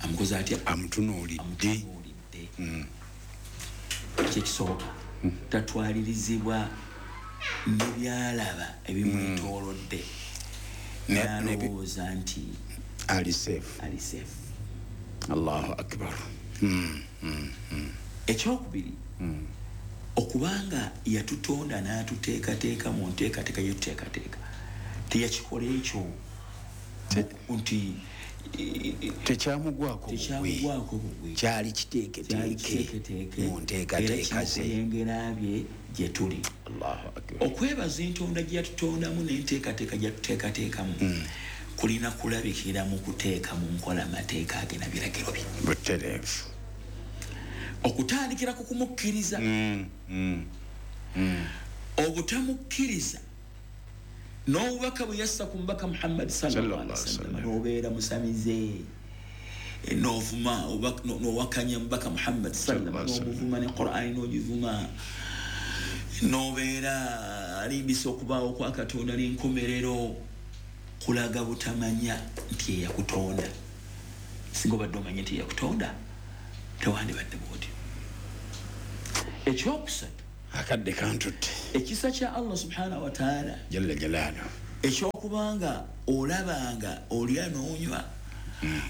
amukoze atya? Amutunuulidde. Kyekisooka tatwalirizibwa n'ebyalaba ebimwetoolodde n'alowooza nti ali safe. Ali safe. Allahu akbar. Ekyokubiri, okubanga yatutonda n'atuteekateeka mu nteekateeka yetuteekateeka, teyakikola ekyo nti tekyamugwako tekyamugwako bugwi, kyali kiteeketeeke mu nteekateeka ze era bye gye tuli. Allahu akbar. Okwebaza entonda gye yatutondamu n'enteekateeka gye yatuteekateekamu kulina kulabikira mu kuteeka mu nkola amateeka ge na biragiro bye. Butereevu. Okutandikira ku kumukkiriza, obutamukkiriza n'obubaka bwe yassa ku mubaka Muhammad sallallahu alaihi wasallam, n'obeera musamize n'ovuma n'owakanya mubaka Muhammad sallallahu alaihi wasallam, n'omuvuma ne Qur'ani n'ogivuma, n'obeera alimbisa okubaawo kwa Katonda n'enkomerero, kulaga butamanya nti eyakutonda Singa obadde omanyi nti yakutonda, tewandibadde bwotyo. Ekyokusatu, akadde kantutte, ekisa kya Allah subhanahu wataala jalla jalaalu, ekyokubanga olabanga olya n'onywa,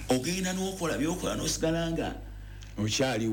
ogenda n'okola byokola n'osigala nga okyaliwo.